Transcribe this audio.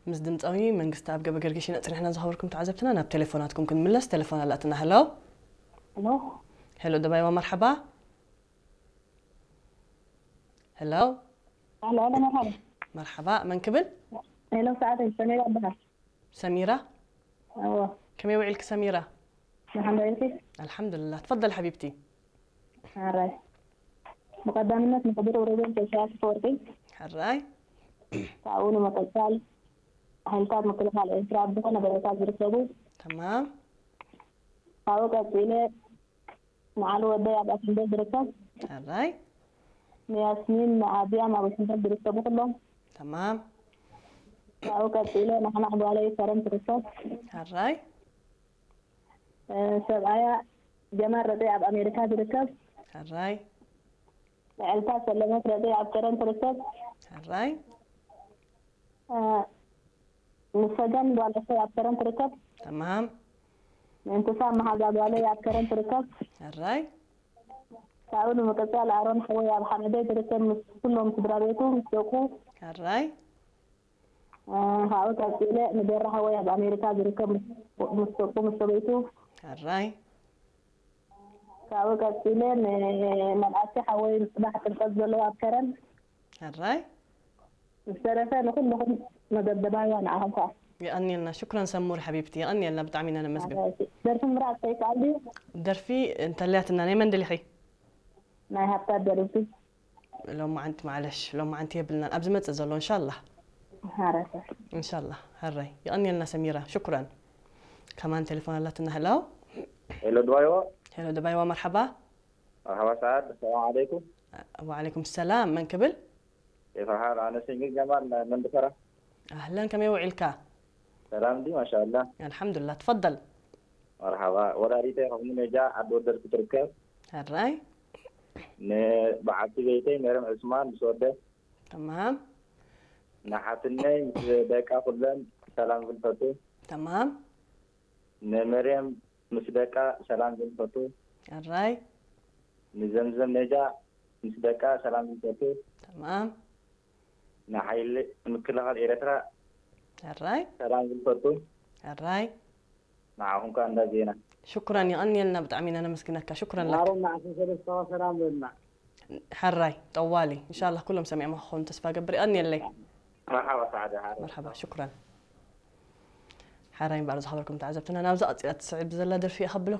ምስ ድምፃዊ መንግስቲ ኣብ ገበ ገርጊሽ ኢና ጽኒሕና ዝኸበርኩም ተዓዘብትና። ናብ ቴሌፎናትኩም ክንምለስ፣ ቴሌፎን ኣላትና። ሄሎ። ሄሎ። ሄሎ ደባይዋ፣ መርሓባ። ሄሎ። ሄሎ፣ ሄሎ፣ መርሓባ። መርሓባ፣ መን ክብል? ሄሎ፣ ሰዓት ሰሜራ ይበሃል። ሰሚራ። እዎ። ከመይ ውዒልክ ሰሚራ? መሓመድ ኢልኪ? ኣልሓምዱልላ። ትፈደል ሓቢብቲ። ሓራይ። ብቐዳምነት ንክቡር ፕሬዚደንት ኢሳያስ ኣፈወርቂ፣ ሕራይ። ካብኡ ንምቕጻል ሓይልታት ምክልኻል ኤርትራ ኣብ ዝኾነ ቦታታት ዝርከቡ፣ ተማም። ካብኡ ቀጺለ ንዓሉ ወደይ ኣብ ኣተንቤ ዝርከብ፣ ሕራይ። ንያስሚን ንኣብያም ኣብ ዋሽንግተን ዝርከቡ ኩሎም፣ ተማም። ካብኡ ቀጺለ ናሕናሕ ጓለይ ከረን ትርከብ፣ ሕራይ። ሰብኣያ ጀማል ረጤ ኣብ ኣሜሪካ ዝርከብ፣ ሕራይ። ልዕልታ ሰለመት ረጤ ኣብ ከረን ትርከብ፣ ሕራይ። ንሰገን ጓል ኣሰይ ኣብ ከረን ትርከብ፣ ተማም። ምእንትሳ መሓዛ ጓለይ ኣብ ከረን ትርከብ፣ ሕራይ። ካብኡ ንምቅጻል ኣሮን ሓወይ ኣብ ሓመደይ ዝርከብ ምስ ኩሎም ስድራ ቤቱ ምስ ደቁ፣ ሕራይ። ካብኡ ቀጺለ ንገራ ሓወይ ኣብ ኣሜሪካ ዝርከብ ምስ ደቁ ምስ ሰበይቱ፣ ሕራይ። ካብኡ ቀጺለ ንመልኣቲ ሓወይ ጽባሕ ጥምቀት ዘለዎ ኣብ ከረን፣ ሕራይ። ዝተረፈ ንኩልኹም መደብ ደባይዋ ንዓኹም ከዓ። የቐንየልና። ሽኩረን ሰሙር ሓቢብቲ፣ የቐንየልና፣ ብጣዕሚ ኢና ነመስግን። ደርፊ ምምራፅ ከይከኣል ድዩ? ደርፊ እንተልያትና ናይ መን ደሊኺ? ናይ ሃብታት ደርፊ። ሎማዓንቲ ማዕለሽ፣ ሎማዓንቲ የብልናን፣ ኣብ ዝመጽእ ዘሎ እንሻላ። ሓረሰ። እንሻላ። ሕራይ። የቐንየልና ሰሚራ፣ ሽኩረን። ከማን ቴሌፎን ኣላትና። ሄሎ። ሄሎ ድባይዋ። ሄሎ ደባይዋ፣ መርሓባ። መርሓባ ሰዓድ፣ ሰላም ዓለይኩም። ወዓለይኩም ሰላም፣ መን ክብል? የፈርሓል ኣነ ሲንግል ጀማል መንድፈራ። ኣህለን፣ ከመይ ውዒልካ? ሰላም ዲ ማሻላ። ኣልሓምዱላ፣ ትፈደል። መርሓባ። ወላዲተይ ከምኡ ነጃ ዓዲ ወደር ክትርከብ። ሕራይ። ንበዓልቲ ቤተይ መርም ዕስማን ምስ ወደ። ተማም። ንሓትነይ ምስ ደቃ ኩለን ሰላም ዝልፈቱ። ተማም። ንመርየም ምስ ደቃ ሰላም ዝልፈቱ። ሕራይ። ንዘምዘም ነጃ ምስ ደቃ ሰላም ዝልፈቱ። ተማም። ንሓይሊ ምክልኻል ኤርትራ ሕራይ። ሰላም ዝልፈቱ። ሕራይ። ንዓኹም ከኣ እንዳ ዜና። ሽኩረን፣ የቐንየልና፣ ብጣዕሚ ኢና ነመስግነካ። ሽኩረን ለካ። ማሮም ንዓሰርተ ሰለስተ ሰላም በልና። ሕራይ፣ ጠዋሊ። እንሻላ ኩሎም ሰሚዖም ክኾኑ ተስፋ ገብር። የቐንየለይ። መርሓባ ሰዓደ ሓረ። መርሓባ፣ ሽኩረን። ሕራይ እምበኣር ዝኸበርኩም ተዓዘብትና፣ ናብዛ ቀጺላ ትስዕብ ዘላ ደርፊ እየ ከብለኩም።